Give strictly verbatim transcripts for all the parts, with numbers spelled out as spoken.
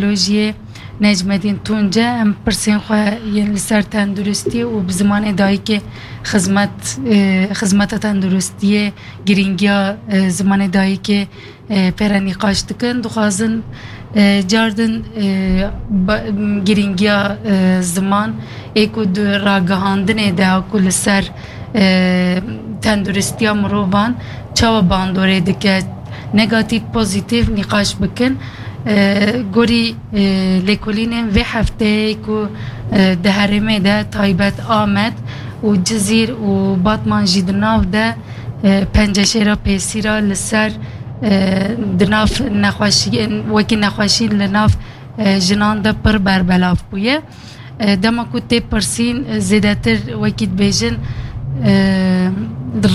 Radyolojiyê Necmetîn Tunce, em pirsên xwe yên li ser tenduristiyê û bi zimanê dayikê xizmet, e, xizmeta tenduristiyê, girîngiya, e, zimanê dayikê, e, pê re nîqaş dikin. Dixwazin, e, cardin, e, ba-, girîngiya, e, ziman ê ku di ragihandinê de ku li ser, e, tenduristiya mirovan çawa bandorê dike, negatîf, pozîtîf nîqaş bikin. E, gorî, e, lêkolînên vê hefteyê ku, e, di herêmê de taybet Amed û Cizîr û Batman jî di nav de, e, penceşêra pêsîra li ser, e, di nav nexweşiyên, wekî nexweşî li nav, e, jinan de pir berbelav bûye. E, dema ku tê pirsîn, e, zêdetir wekî dibêjin, e,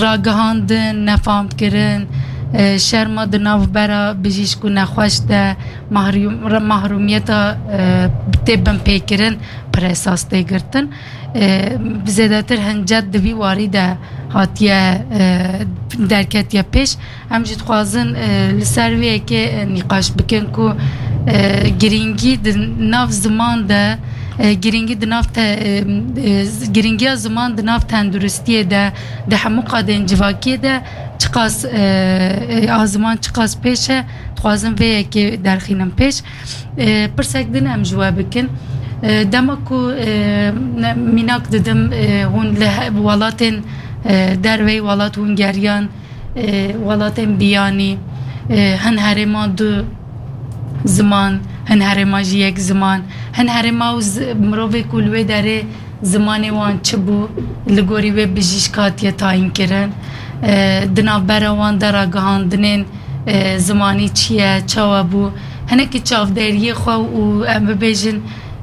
ragihandin, nefamkirin, e, şerma di navbera bijîşk û nexweş de, mahrûm-, mahrûmiyeta, e, tê binpêkirin pir esas tê girtin. E, zêdetir hincet di vî warî de hatiye, e, derketiye pêş. Em jî dixwazin, e, li ser vê yekê, e, nîqaş bikin ku, e, girîngî di nav ziman de, e, girîngî di nav te-, e, e, z-, girîngiya ziman di nav tenduristiyê de, di hemû qadên civakiyê de çiqas, e, e, a ziman çiqas pêş e, dixwazin vê yekê derxînin pêş. E, pirsek din em ji we bikin. E, dema ku, e, ne-, mînak didim, e, hûn li he-, welatên, e, derveyî welat hûn geriyan, e, welatên biyanî, e, hin herêma du ziman, hin herêma jî yek ziman, hin herêma û zi-, mirovê ku li wê derê zimanê wan çi bû, li gorî wê bijîşk hatiye tayînkirin, e, di navbera wan de ragihandinên, e, zimanî çi ye, çawa bû, hinekî çavderiyê xwe û em bibêjin,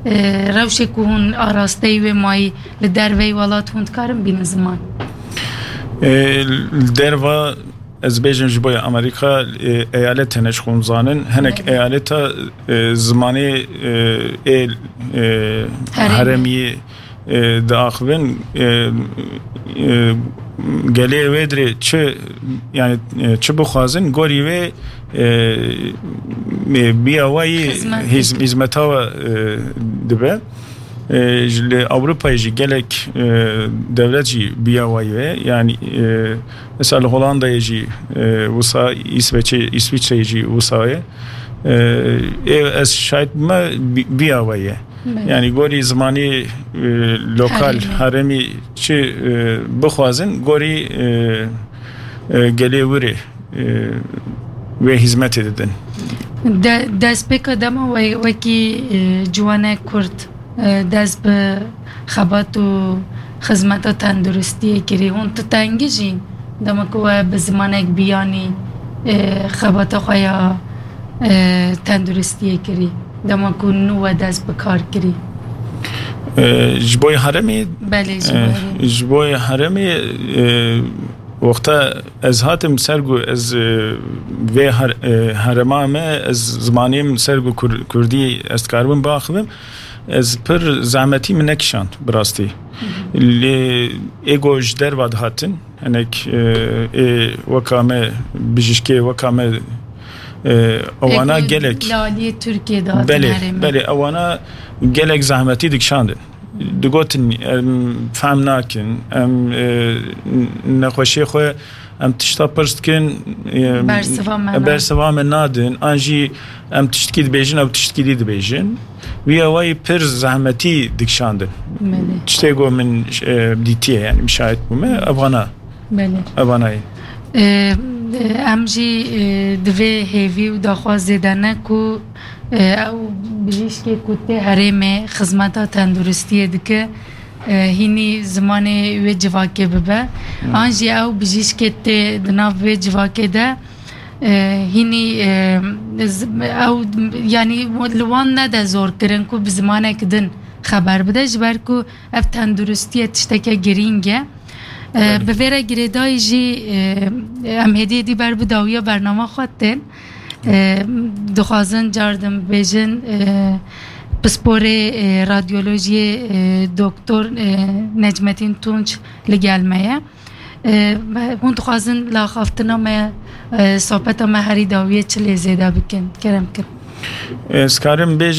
e, rewşê ku hûn arasteyî wê mayî, li derveyî welat hûn dikarin bînin ziman? E, li derva, ez bêjim ji bo Amerîka, e, eyalet hene ji xwe zanin. Hinek Evet. eyaleta, e, zimanê, e, ê, e, Herêmî. herêmî, e, diaxivin, e, e, gelê wê dirê çi, yani, e, çi bixwazin, gorî wê, e, e, biyawayî Xizmet hîz-, hîzmeta we, e, dibe. E, ji li Ewropayê jî gelek, e, dewlet jî biya wayî ve. Yani, e, mesela li Holandayê jî, e, wisa, Îsveçê, Îsviçreyê jî wisa ye. E, ê ez şahid bime bi-, biya wayî ye. Belê. Yani gorî zimanî, e, lokal, Herêmî. herêmî çi, e, bixwazin, gorî, e, e, gelê wirê, e, wê hizmetê didin. De-, destpêka dema we-, wekî, e, ciwanek Kurd, e, dest bi xebat û xizmeta tenduristiyê kirî. Hûn tu tengî jîn dema ku we bi zimanek biyanî, e, xebata xwe ya, e, tenduristiyê kirî. Dema ku nû we dest bi kar kirî. E, ji bo herêmê, Belê, ji bo e, herêmê. ji bo herêmê, e, wexta ez hatim ser ku ez, e, vê her-, e, herêma me, ez zimanê min ser ku kur-, kurdî ez dikaribim biaxivim, ez pir zehmetî min nekişand bi rastî. Lê ê ku ji derva dihatin, hinek, e, ê weka me, bijîşkê weka me, e, ewana Ê ku gelek. li aliyê Tirkiyê dihatin Belê, herêmê. belê, ewana gelek zehmetî dikişandin. Digotin, em fehm nakin, em, e, n-, nexweşiyê xwe, em tişta pirs dikin, e, Bersiva me nadin. bersiva me nadin, an jî em tiştkî dibêjin, ew tiştkî dî dibêjin. Wî awayî pir zehmetî dikişandin. Belê. Tiştê ku min, e, dîtiye, yani müşahit bûme, evana. Belê. Evana ye. E, e, em jî, e, di vê hêvî û daxwazê de ne ku, e, ew bijîşkê ku tê herêmê xizmeta tenduristiyê dike, e, hînî zimanê wê civakê bibe. Hmm. An jî ew bijîşkê tê di nav wê civakê de, e, hînî, e, z-, ew, yanî li wan nede zor kirin ku bi zimanek din xeber bide, ji ber ku ev tenduristiye tişteke girîng e. E, Belê. Bi vê re girêdayî jî, e, em hêdî hêdî ber bi dawiya bernama xwe tên. E, dixwazin car din bêjin, e, pisporê, e, radyolojiyê, e, doktor, e, Necmetîn Tunç li gel me ye. E, me, hûn dixwazin li axaftina me, e, sohbeta me herî dawiyê çi lê zêde bikin? Kerem kir. Ez karim bêjim